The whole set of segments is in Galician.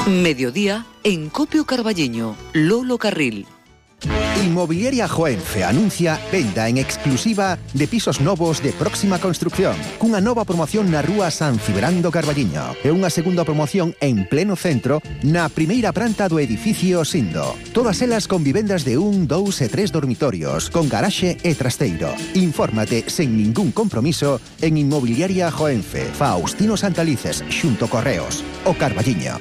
Mediodía en Copio Carballiño, Lolo Carril. Inmobiliaria Joenfe anuncia venda en exclusiva de pisos novos de próxima construcción, cunha nova promoción na rúa San Cibrando Carballiño e unha segunda promoción en pleno centro na primeira planta do edificio Sindo. Todas elas con vivendas de 1, 2 e 3 dormitorios, con garaxe e trasteiro. Infórmate sen ningún compromiso en Inmobiliaria Joenfe, Faustino Santalices, xunto Correos, o Carballiño.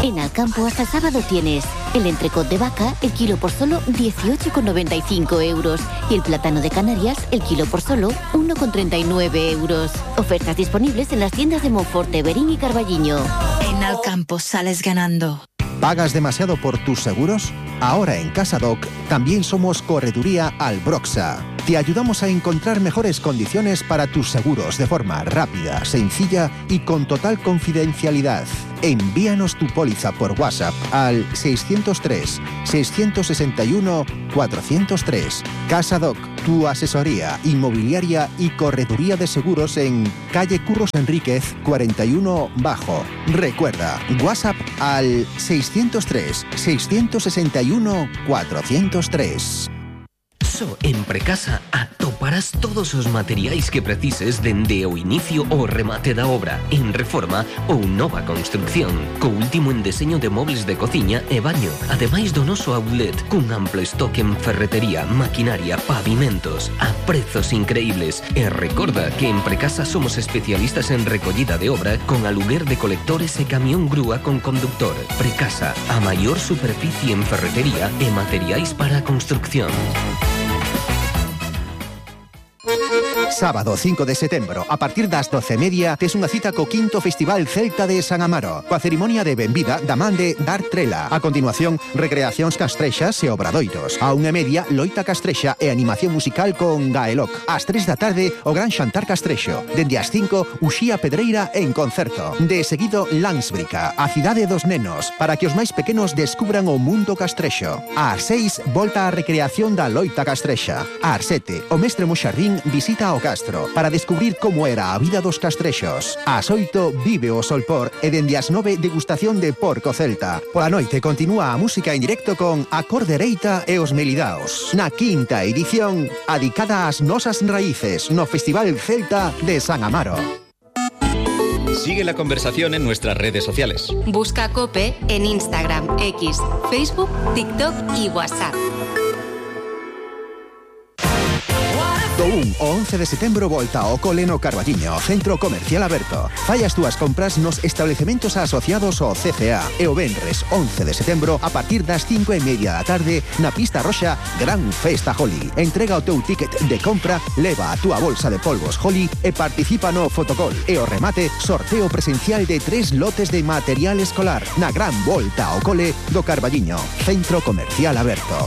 En Alcampo hasta el sábado tienes el entrecot de vaca, el kilo por solo 18,95 euros y el plátano de Canarias, el kilo por solo 1,39 euros. Ofertas disponibles en las tiendas de Monforte, Berín y Carballiño. En Alcampo sales ganando. ¿Pagas demasiado por tus seguros? Ahora en Casadoc también somos Correduría Albroxa. Te ayudamos a encontrar mejores condiciones para tus seguros de forma rápida, sencilla y con total confidencialidad. Envíanos tu póliza por WhatsApp al 603-661-403. Casadoc, tu asesoría inmobiliaria y correduría de seguros en calle Curros Enríquez 41 Bajo. Recuerda, WhatsApp al 603-661-403. Só en Precasa atoparás todos os materiais que precises dende o inicio ao remate da obra, en reforma ou nova construcción, co último en deseño de mobles de cociña e baño, ademais do noso outlet, cun amplo estoque en ferretería, maquinaria, pavimentos, a prezos increíbles. E recorda que en Precasa somos especialistas en recollida de obra con aluguer de colectores e camión grúa con conductor. Precasa, a maior superficie en ferretería e materiais para a construcción. Sábado 5 de setembro, a partir das 12:30, tes unha cita co 5º Festival Celta de San Amaro, coa cerimonia de benvida da man de Dar Trela. A continuación, recreacións castrexas e obradoiros. A 1:30, loita castrexa e animación musical con Gaeloc. Ás 3 da tarde, o gran xantar castrexo. Dende as 5, Uxía Pedreira en concerto. De seguido, Lansbrica, a cidade dos nenos, para que os máis pequenos descubran o mundo castrexo. Ás 6, volta a recreación da loita castrexa. Ás 7, o mestre Moxardín visita o Castro para descubrir como era a vida dos castrexos. Ás 8 vive o Solpor e dende as 9 degustación de porco celta. Pola noite continúa a música en directo con A Cor Dereita e os Melidaos. Na 5ª edición, adicada ás nosas raíces no Festival Celta de San Amaro. Sigue la conversación en nuestras redes sociales. Busca COPE en Instagram, X, Facebook, TikTok y WhatsApp. Do 1 ao 11 de setembro volta ao cole no Carballiño, Centro Comercial Aberto. Fai as túas compras nos establecementos asociados ao CCA e o venres 11 de setembro a partir das 5:30 da tarde na Pista Roxa Gran Festa Holly. Entrega o teu ticket de compra, leva a túa bolsa de polvos Holly e participa no fotocall. E o remate, sorteo presencial de 3 lotes de material escolar na gran volta ao cole do Carballiño, Centro Comercial Aberto.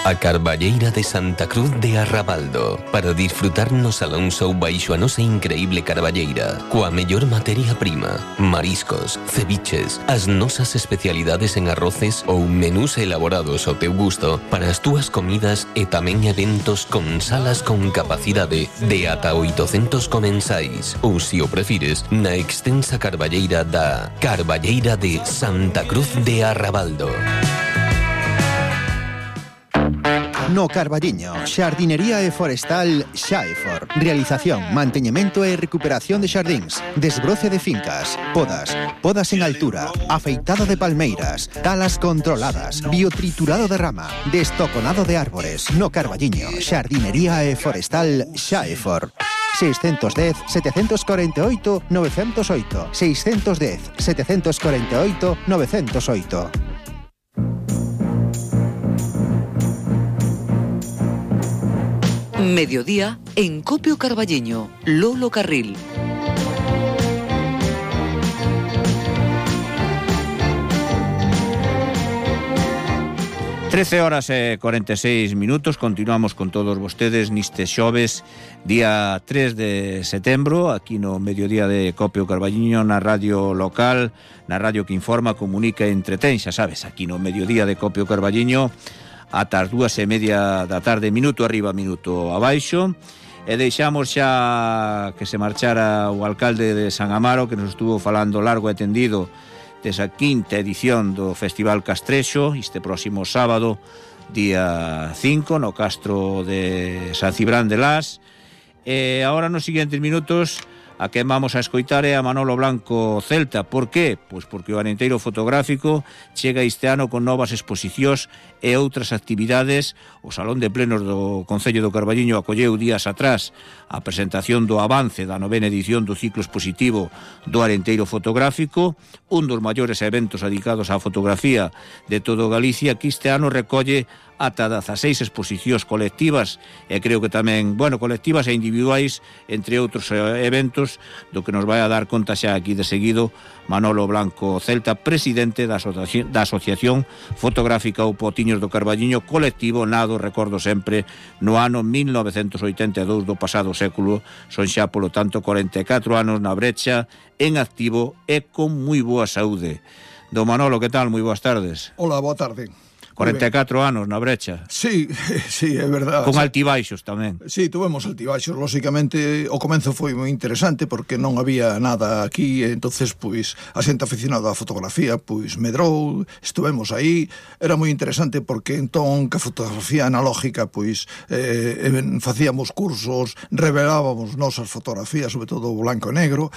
A Carballeira de Santa Cruz de Arrabaldo, para disfrutar no Salón Show baixo a nosa increíble carballeira, coa mellor materia prima, mariscos, ceviches, as nosas especialidades en arroces ou menús elaborados ao teu gusto para as túas comidas e tamén eventos con salas con capacidade de ata 800 comensais, ou se o prefires, na extensa carballeira da Carballeira de Santa Cruz de Arrabaldo. No Carballiño, xardinería e forestal Xaefor. Realización, manteñemento e recuperación de xardíns, desbroce de fincas, podas en altura, afeitado de palmeiras, talas controladas, biotriturado de rama, destoconado de árbores. No Carballiño, xardinería e forestal Xaefor. 610-748-908 610-748-908. Mediodía en Copio Carballiño, Lolo Carril. Trece horas e 46 minutos. Continuamos con todos vostedes neste xoves, día 3 de setembro, aquí no Mediodía de Copio Carballiño, na radio local, na radio que informa, comunica e entretén, xa sabes, aquí no Mediodía de Copio Carballiño, ata as 2:30 da tarde, minuto arriba, minuto abaixo. E deixamos xa que se marchara o alcalde de San Amaro, que nos estuvo falando largo e tendido desa quinta edición do Festival Castrexo, este próximo sábado, día 5, no Castro de San Cibrán de Las. E agora nos seguintes minutos a quen vamos a escoitar é a Manolo Blanco Celta. Por qué? Pois porque o Arenteiro Fotográfico chega este ano con novas exposicións e outras actividades. O Salón de Plenos do Concello do Carballiño acolleu días atrás a presentación do avance da 9ª edición do ciclo expositivo do Arenteiro Fotográfico, un dos maiores eventos dedicados á fotografía de todo Galicia, que este ano recolle ata 16 exposicións colectivas e creo que tamén, colectivas e individuais, entre outros eventos, do que nos vai a dar conta xa aquí de seguido Manolo Blanco Celta, presidente da Asociación Fotográfica ou Potiños do Carballiño, colectivo nado, recordo sempre, no ano 1982 do pasado século. Son xa, polo tanto, 44 anos na brecha, en activo e con moi boa saúde. Don Manolo, que tal? Moi boas tardes. Hola, boa tarde. 44 anos na brecha. Sí, é verdade. Con altibaixos tamén. Sí, tuvemos altibaixos, lóxicamente. O comenzo foi moi interesante porque non había nada aquí, entonces pois a xente aficionada á fotografía pois medrou, estuvemos aí. Era moi interesante porque entón que a fotografía analógica pois facíamos cursos, revelábamos nosas fotografías, sobre todo blanco e negro.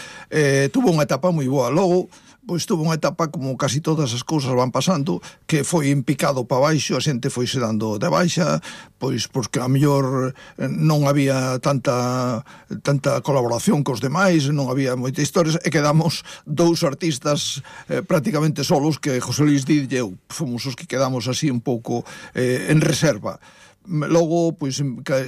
Tuvo unha etapa moi boa. Logo pois tuvo unha etapa, como casi todas as cousas van pasando, que foi en picado para baixo, a xente foise dando de baixa, pois porque a mellor non había tanta colaboración cos demais, non había moitas historias, e quedamos dous artistas prácticamente solos, que José Luis Díaz e eu fomos os que quedamos así un pouco en reserva. Logo, pois,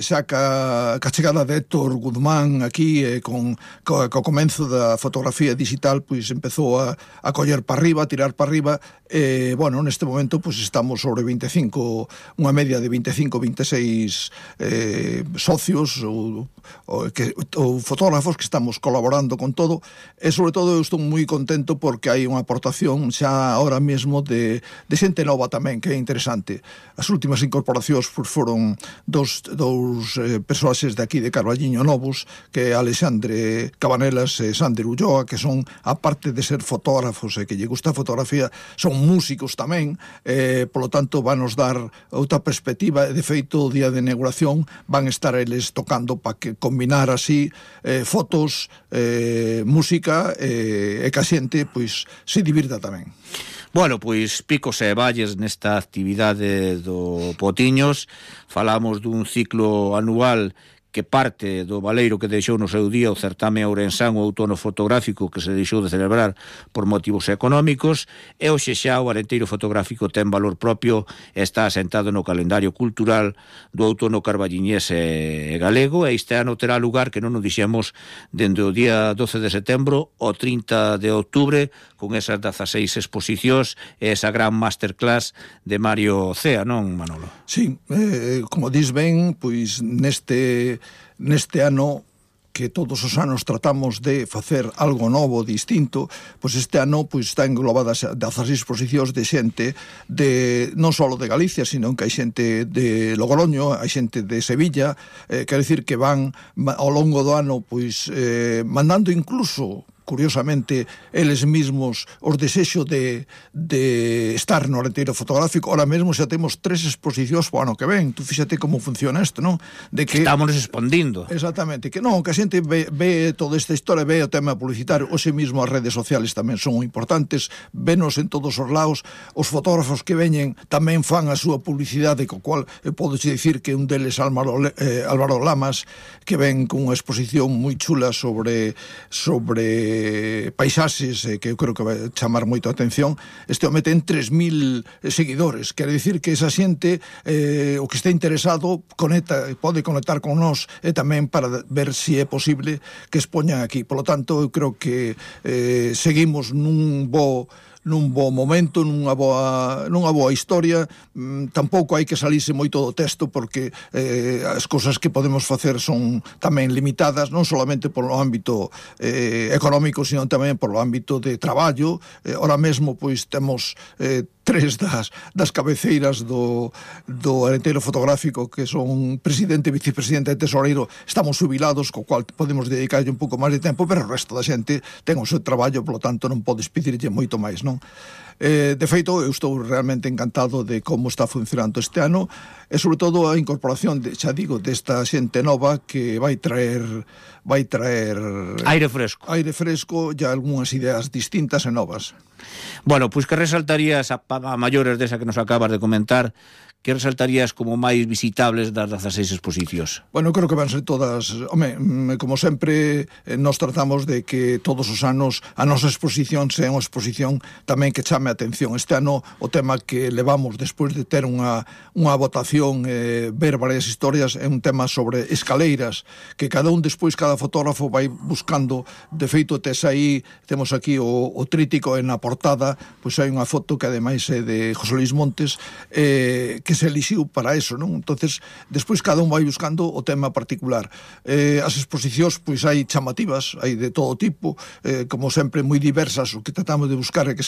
xa ca chegada de Héctor Guzmán aquí, co comenzo da fotografía digital, pois empezou a coller para arriba, a tirar para arriba, e, neste momento, pois, estamos sobre 25, unha media de 25-26 socios ou fotógrafos que estamos colaborando con todo, e, sobre todo, eu estou moi contento porque hai unha aportación xa ahora mesmo de xente nova tamén, que é interesante. As últimas incorporacións foron dous persoaxes de aquí de Carballiño novos, que é Alexandre Cabanelas e Sander Ulloa, que son, aparte de ser fotógrafos e que lle gusta a fotografía, son músicos tamén, polo tanto vanos dar outra perspectiva, e de feito o día de inauguración van estar eles tocando para que combinar así fotos, música, e que a xente pois se divirta tamén. Bueno, pois picos e valles nesta actividade do Potiños. Falamos dun ciclo anual que parte do baleiro que deixou no seu día o certame ourensán, o outono fotográfico, que se deixou de celebrar por motivos económicos, e hoxe xa o Arenteiro Fotográfico ten valor propio e está asentado no calendario cultural do outono carballiñés e galego, e este ano terá lugar, que non nos dixemos, dende o día 12 de setembro ao 30 de outubro, con esas 16 exposicións e esa gran masterclass de Mario Cea, non, Manolo? Sí, como dis ben, pois neste ano, que todos os anos tratamos de facer algo novo, distinto, pois este ano pois está englobadas 16 exposicións de xente non só de Galicia, sino que hai xente de Logroño, hai xente de Sevilla, quero dicir que van ao longo do ano pois mandando incluso, curiosamente, eles mismos os desexo de estar no Arenteiro Fotográfico. Ahora mesmo xa temos 3 exposicións para o ano que ven. Tú fíxate como funciona isto, non? De que estamos respondindo. Exactamente, que non, que a xente ve toda esta historia, ve o tema publicitario, hoxe mesmo as redes sociales tamén son importantes, venos en todos os lados, os fotógrafos que veñen tamén fan a súa publicidade, co cual podo dicir que un deles Álvaro Lamas, que ven con unha exposición moi chula sobre paisaxes, que eu creo que vai chamar moito a atención. Este home ten 3.000 seguidores, quere dicir que esa xente, o que está interesado, pode conectar con nós, e tamén para ver se é posible que expoñan aquí. Por lo tanto, eu creo que seguimos nun bo momento, nunha boa historia. Tampouco hai que salirse moito do texto, porque as cousas que podemos facer son tamén limitadas, non solamente polo ámbito económico, sino tamén polo ámbito de traballo. Ora mesmo pois temos tres das cabeceiras do Arenteiro Fotográfico, que son presidente, vicepresidente e tesoreiro, estamos jubilados, co cual podemos dedicarlle un pouco máis de tempo, pero o resto da xente ten o seu traballo, polo tanto non podes pedirlle moito máis, non? De feito, eu estou realmente encantado de como está funcionando este ano e sobre todo a incorporación, xa digo, desta xente nova que vai traer aire fresco e algunhas ideas distintas e novas. Bueno, pois que resaltarías a maiores desa que nos acabas de comentar, que resaltarías como máis visitables das 16 exposicións? Bueno, creo que van ser todas... Home, como sempre, nos tratamos de que todos os anos a nosa exposición sea unha exposición tamén que chame a atención. Este ano o tema que levamos despois de ter unha votación, ver varias historias, é un tema sobre escaleiras, que cada fotógrafo vai buscando. De feito, temos aquí o trítico en a portada, pois hai unha foto que ademais é de José Luis Montes, que se elixiu para eso, non? Entonces, despois cada un vai buscando o tema particular. As exposicións, pois hai chamativas, hai de todo tipo, como sempre moi diversas. O que tratamos de buscar é que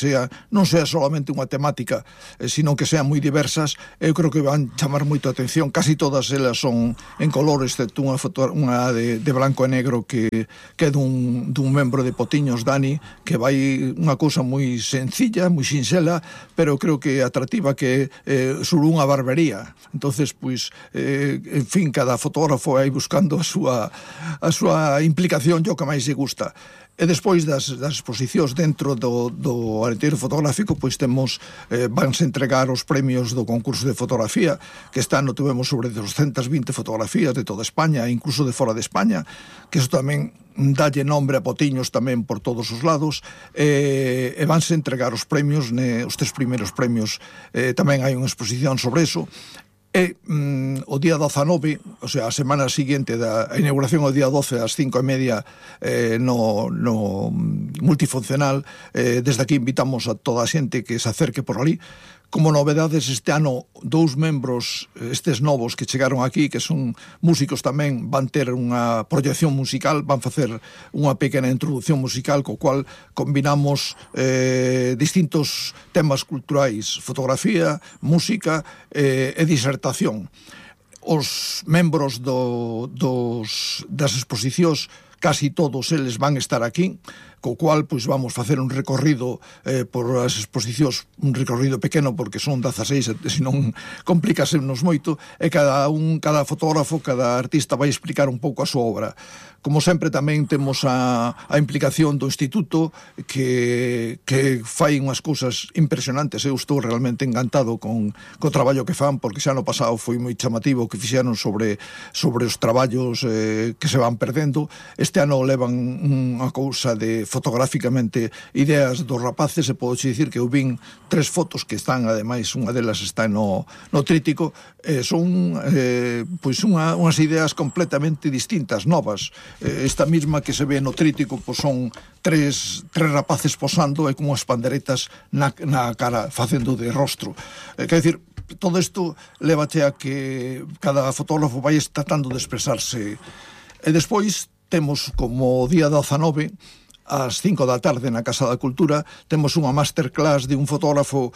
non sea solamente unha temática, sino que sean moi diversas. Eu creo que van chamar moito a atención. Casi todas elas son en color, excepto unha de blanco e negro que é dun membro de Potiños, Dani, que vai unha cousa moi sencilla, moi sinxela, pero creo que atractiva, que é sobre unha barbería. Entonces, pois, en fin, cada fotógrafo vai buscando a súa implicación, o que máis lle gusta. E despois das exposicións dentro do Arenteiro Fotográfico, pois vanse entregar os premios do concurso de fotografía, que este ano tuvemos sobre 220 fotografías de toda España, incluso de fora de España, que iso tamén dalle nombre a Potiños tamén por todos os lados, e vanse entregar os premios, os 3 primeiros premios, tamén hai unha exposición sobre eso. E o día 19, o sea, a semana seguinte da inauguración, o día 12 ás 5:30 no multifuncional, desde aquí invitamos a toda a xente que se acerque por ali. Como novedades este ano, 2 membros, estes novos que chegaron aquí, que son músicos tamén, van ter unha proyección musical, van facer unha pequena introducción musical, co cual combinamos distintos temas culturais, fotografía, música e disertación. Os membros das exposicións, casi todos eles van estar aquí, co cual pois vamos facer un recorrido por as exposicións, un recorrido pequeno porque son 16, senón complicasenos moito, e cada fotógrafo, cada artista vai explicar un pouco a súa obra. Como sempre tamén temos a implicación do Instituto que fai unhas cousas impresionantes. Eu estou realmente encantado co traballo que fan, porque xa no pasado foi moi chamativo que fixeron sobre os traballos que se van perdendo. Este ano levan unha cousa de fotográficamente ideas dos rapaces, e podo dicir que eu vin 3 fotos que están, ademais, unha delas está no trítico, son pois unhas ideas completamente distintas, novas. Esta mesma que se ve no trítico, pois son 3 rapaces posando e con unhas panderetas na cara, facendo de rostro. Quer dicir, todo isto lévache a que cada fotógrafo vai tratando de expresarse. E despois temos, como día 19, ás 5 da tarde na Casa da Cultura, temos unha masterclass de un fotógrafo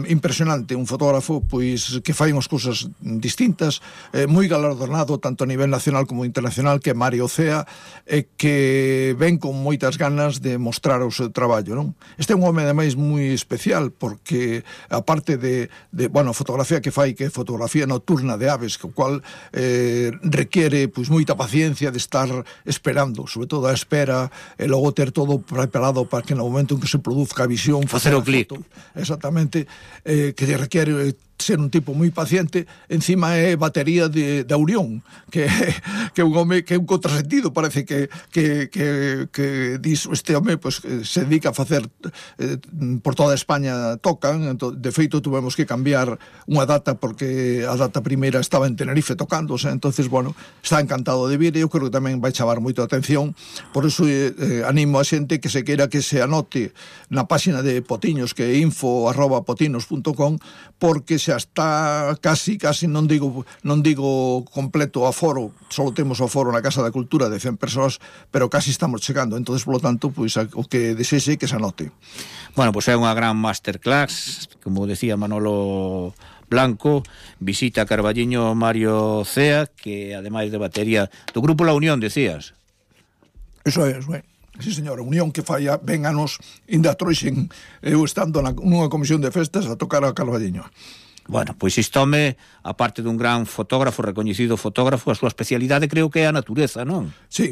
impresionante, un fotógrafo pois que fai unhas cousas distintas, moi galardonado tanto a nivel nacional como internacional, que é Mario Cea, e que ven con moitas ganas de mostrar o seu traballo, non? Este é un home ademais moi especial, porque aparte de fotografía que fai, que é fotografía nocturna de aves, que o cual requiere pois moita paciencia de estar esperando, sobre todo a espera, e logo ter todo preparado para que no momento en que se produzca a visión facer o clic. Exactamente, que requiere ser un tipo moi paciente. Encima é batería de Aurión, que é un home que é un contrasentido, parece que dis, este home pues, se dedica a facer por toda España tocan. De feito tuvemos que cambiar unha data porque a data primeira estaba en Tenerife tocándose, entonces bueno, está encantado de vir, e eu creo que tamén vai chamar moito a atención. Por iso animo a xente que se queira que se anote na páxina de Potiños, que é info@potinos.com, porque xa está casi, non digo completo o aforo, só temos o aforo na Casa da Cultura de 100 persoas, pero casi estamos chegando, entonces, polo tanto, pois o que desexe que se anote. Bueno, pois é unha gran masterclass como decía Manolo Blanco, visita a Carballiño Mario Cea, que ademais de batería do grupo La Unión, decías. Eso é, sí, señora, Unión que fai ben anos, ainda trouxen eu estando nunha comisión de festas a tocar a Carballiño. Bueno, pois isto home, aparte dun gran fotógrafo, recoñecido fotógrafo, a súa especialidade creo que é a natureza, non? Sí,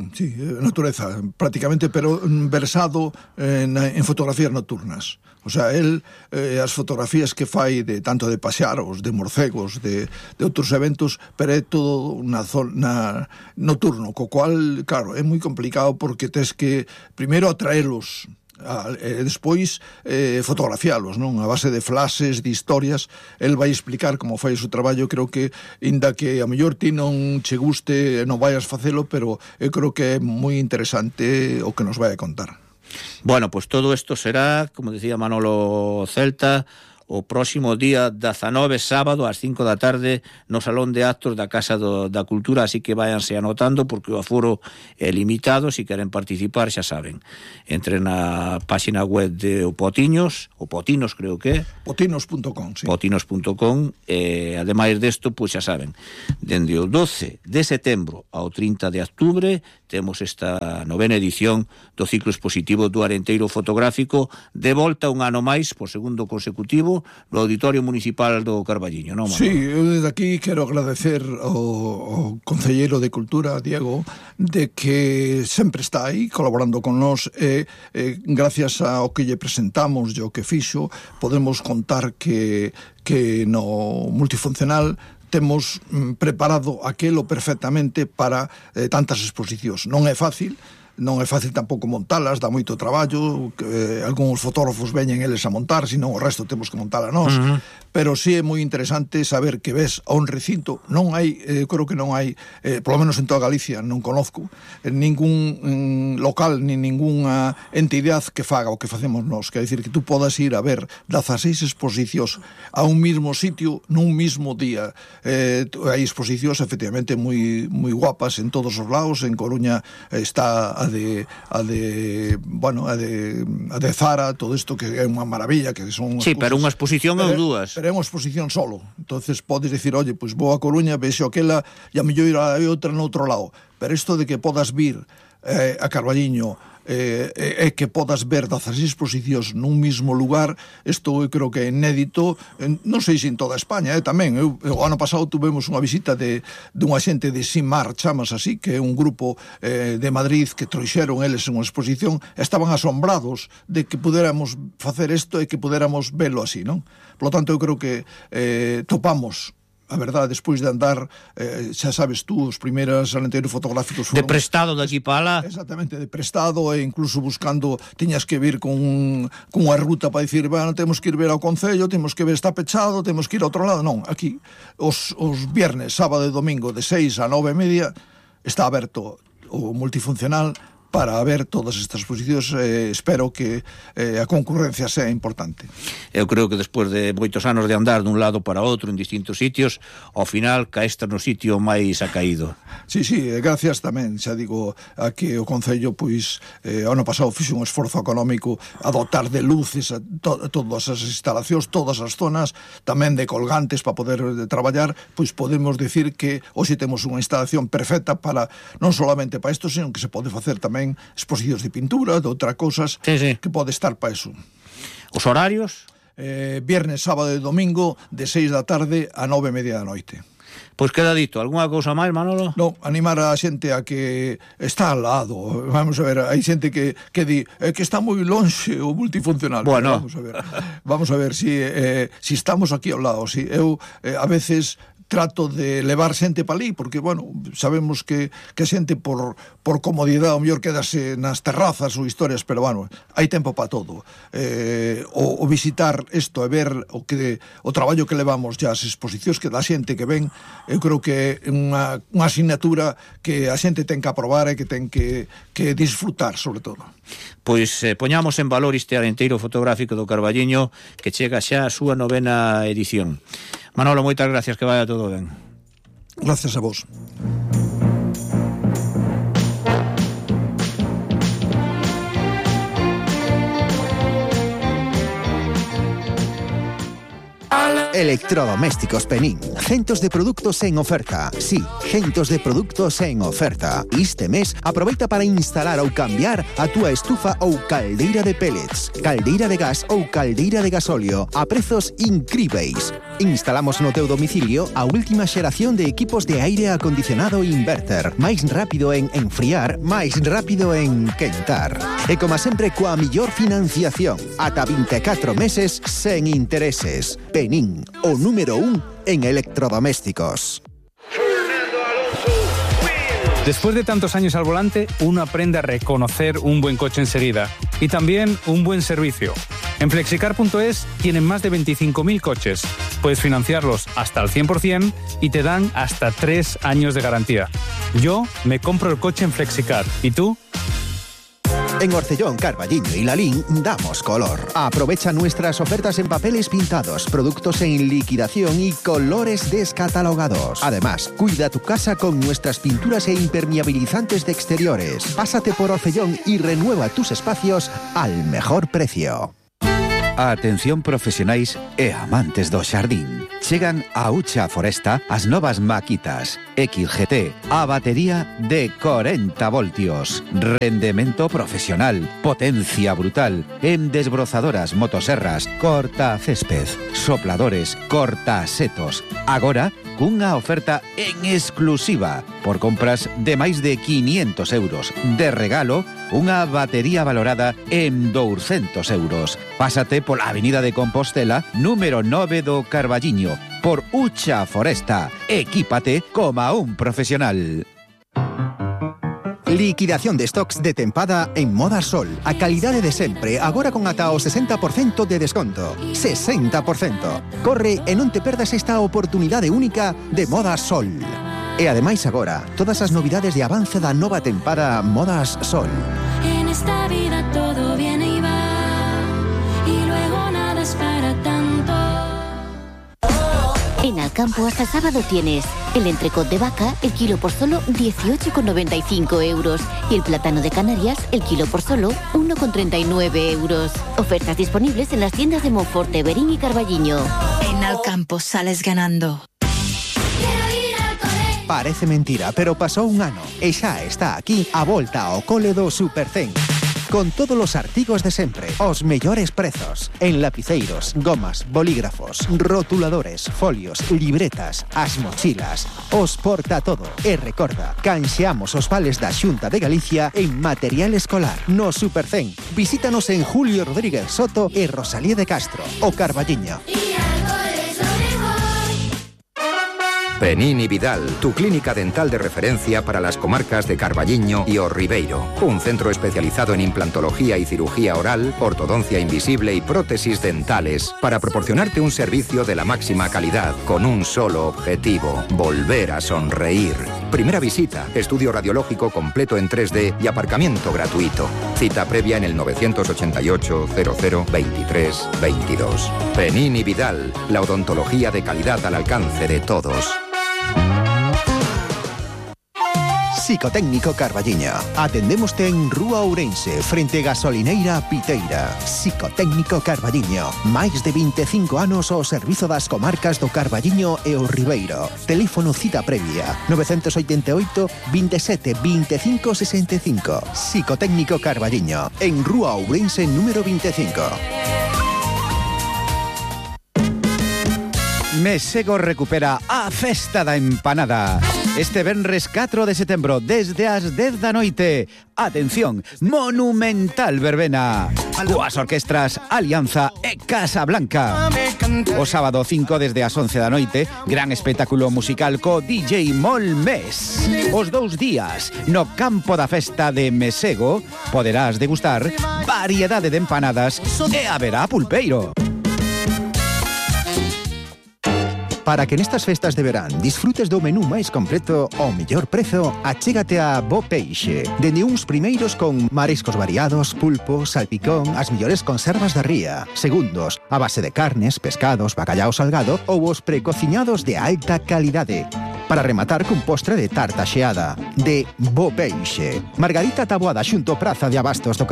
natureza, prácticamente, pero versado en fotografías nocturnas. O sea, él, as fotografías que fai de tanto de paxaros, de morcegos, de outros eventos, pero é todo na zona nocturno, co cual, claro, é moi complicado porque tes que primeiro atraelos, despois fotografialos, non? A base de flashes, de historias. El vai explicar como fai o seu traballo. Creo que, inda que a mellor ti non che guste, non vayas facelo, pero eu creo que é moi interesante o que nos vai a contar. Bueno, pues todo isto será, como decía Manolo Celta, o próximo día 19, sábado, ás 5 da tarde, no Salón de Actos da Casa da Cultura, así que váyanse anotando, porque o aforo é limitado. Se queren participar, xa saben, entren na página web de Potinos, o Potinos creo que é, potinos.com, sí. Potinos.com, ademais desto, pois xa saben, dende o 12 de setembro ao 30 de octubre, temos esta 9ª edición do ciclo expositivo do Arenteiro Fotográfico, de volta un ano máis, por segundo consecutivo, no Auditorio Municipal do Carballiño, non, Manolo? Sí, eu desde aquí quero agradecer ao Concelleiro de Cultura, Diego, de que sempre está aí colaborando con nós, e gracias ao que lle presentamos e ao que fixo, podemos contar que no multifuncional temos preparado aquelo perfectamente para tantas exposicións. Non é fácil tampouco montalas, dá moito traballo, algúns fotógrafos veñen eles a montar, senón o resto temos que montala nós, pero sí é moi interesante saber que ves a un recinto. Non hai, creo que non hai, polo menos en toda Galicia, non conozco ningún local, ni ninguna entidade que faga o que facemos nós, que é dicir que tú podas ir a ver 16 exposicións a un mismo sitio nun mismo día. Hai exposicións efectivamente moi guapas en todos os lados. En Coruña está a de Zara, todo isto que é unha maravilla, que son sí, pero unha exposición ou dúas. Pero é unha exposición solo. Entonces podes dicir, oye, pois vou a Coruña, vexo aquela e a mellor ir a outra no outro lado. Pero isto de que podas vir a Carballiño e que podas ver 16 exposicións nun mismo lugar, isto eu creo que é inédito, non sei se en toda España, tamén. O ano pasado tuvemos unha visita dunha xente de Simar, chamas así, que é un grupo de Madrid que trouxeron eles unha exposición, estaban asombrados de que pudéramos facer isto e que pudéramos velo así, non? Por lo tanto, eu creo que topamos, a verdade, despois de andar, xa sabes tú, os primeiros alenteiros fotográficos foron... De prestado daqui para lá. Exactamente, de prestado, e incluso buscando, tiñas que vir con unha ruta para dicir, bueno, temos que ir ver ao Concello, temos que ver, está pechado, temos que ir a outro lado. Non, aquí, os viernes, sábado e domingo, de 6 a 9:30, está aberto o multifuncional para ver todas estas exposicións. Espero que a concurrencia sea importante. Eu creo que despois de moitos anos de andar dun lado para outro en distintos sitios, ao final caeste no sitio máis acaído. Sí, gracias tamén, xa digo, a que o Concello, pois, ano pasado fixo un esforzo económico a dotar de luces a todas as instalacións, todas as zonas, tamén de colgantes para poder traballar. Pois podemos decir que hoxe temos unha instalación perfecta para, non solamente para isto, sino que se pode facer tamén exposicións de pintura, de outras cosas, sí. Que pode estar para eso. Os horarios? Viernes, sábado e domingo, de 6 da tarde a 9:30 da noite. Pois queda dito, algunha cousa máis, Manolo? Non, animar a xente a que está al lado. Vamos a ver, hai xente que di que está moi lonxe o multifuncional. Bueno. Vamos a ver si estamos aquí ao lado. Si eu a veces trato de levar xente para ali, porque, bueno, sabemos que a xente por comodidade o mellor quedase nas terrazas ou historias, pero, bueno, hai tempo para todo. O visitar isto e ver o traballo que levamos ya, as exposicións que da xente que ven, eu creo que é unha asignatura que a xente ten que aprobar e que ten que disfrutar, sobre todo. Pois poñamos en valor este arenteiro fotográfico do Carballiño, que chega xa a súa 9ª edición. Manolo, moitas gracias, que vaya todo ben. Gracias a vos. Electrodomésticos Penín. Centos de produtos en oferta. Sí, centos de produtos en oferta. Este mes aproveita para instalar ou cambiar a túa estufa ou caldeira de pellets, caldeira de gas ou caldeira de gasóleo a prezos incríveis. Instalamos no teu domicilio a última xeración de equipos de aire acondicionado inverter. Máis rápido en enfriar, máis rápido en quentar. E como sempre, coa millor financiación. Ata 24 meses sen intereses. Penín, o número 1 en electrodomésticos. Después de tantos años al volante, uno aprende a reconocer un buen coche enseguida y también un buen servicio. En Flexicar.es tienen más de 25.000 coches. Puedes financiarlos hasta el 100% y te dan hasta 3 años de garantía. Yo me compro el coche en Flexicar. ¿Y tú? En Orcellón, Carballiño y Lalín damos color. Aprovecha nuestras ofertas en papeles pintados, productos en liquidación y colores descatalogados. Además, cuida tu casa con nuestras pinturas e impermeabilizantes de exteriores. Pásate por Orcellón y renueva tus espacios al mejor precio. Atención profesionais e amantes do xardín. Chegan a Ucha Foresta as novas maquitas XGT, a batería de 40 voltios, rendemento profesional, potencia brutal, en desbrozadoras, motoserras, corta césped, sopladores, corta setos. Agora, cunha oferta en exclusiva por compras de máis de 500 euros. De regalo, unha batería valorada en 200 euros. Pásate pola Avenida de Compostela, número 9 do Carballiño, por Ucha Foresta. Equípate como un profesional. Liquidación de stocks de tempada en Moda Sol. A calidade de sempre, agora con ata o 60% de desconto. 60%. Corre e non te perdas esta oportunidade única de Moda Sol. E ademais agora, todas as novidades de avance da nova tempada Modas Sol. En esta vida todo viene y va, y luego nada es para tanto. En Alcampo hasta el sábado tienes el entrecot de vaca, el kilo por solo 18,95 euros. Y el plátano de Canarias, el kilo por solo 1,39 euros. Ofertas disponibles en las tiendas de Monforte, Berín y Carballiño. En Alcampo sales ganando. Parece mentira, pero pasou un ano e xa está aquí a volta ao cole do Supercén. Con todos os artigos de sempre, os mellores prezos. En lapiceiros, gomas, bolígrafos, rotuladores, folios, libretas, as mochilas, os porta todo. E recorda, canxeamos os vales da Xunta de Galicia en material escolar. No Supercén, visítanos en Julio Rodríguez Soto e Rosalía de Castro, o Carballiño. Penín y Vidal, tu clínica dental de referencia para las comarcas de Carballiño y O Ribeiro. Un centro especializado en implantología y cirugía oral, ortodoncia invisible y prótesis dentales para proporcionarte un servicio de la máxima calidad con un solo objetivo: volver a sonreír. Primera visita, estudio radiológico completo en 3D y aparcamiento gratuito. Cita previa en el 988 00 23 22. Penín y Vidal, la odontología de calidad al alcance de todos. Psicotécnico Carballiño. Atendémoste en Rúa Ourense, frente Gasolineira Piteira. Psicotécnico Carballiño. Máis de 25 anos ao servizo das comarcas do Carballiño e o Ribeiro. Teléfono cita previa 988 27 25 65. Psicotécnico Carballiño. En Rúa Ourense número 25. Mesego recupera a Festa da Empanada. Este venres 4 de setembro, desde as 10 da noite. Atención, monumental verbena. Coas orquestras Alianza e Casa Blanca. O sábado 5 desde as 11 da noite, gran espectáculo musical co DJ Molmes. Os 2 días, no campo da festa de Mesego, poderás degustar variedade de empanadas e haberá pulpeiro. Para que nestas festas de verán disfrutes do menú máis completo ao mellor prezo, achégate a Bo Peixe. Dende uns primeiros con mariscos variados, pulpo, salpicón, as mellores conservas da ría. Segundos, a base de carnes, pescados, bacallao salgado ou os precociñados de alta calidade. Para rematar cun postre de tarta xeada. De Bo Peixe. Margarita Taboada xunto Praza de Abastos do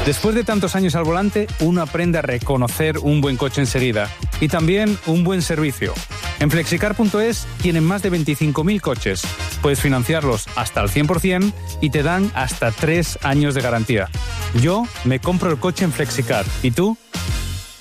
Después de tantos años al volante, uno aprende a reconocer un buen coche enseguida y también un buen servicio. En Flexicar.es tienen más de 25.000 coches. Puedes financiarlos hasta el 100% y te dan hasta 3 años de garantía. Yo me compro el coche en Flexicar. ¿Y tú?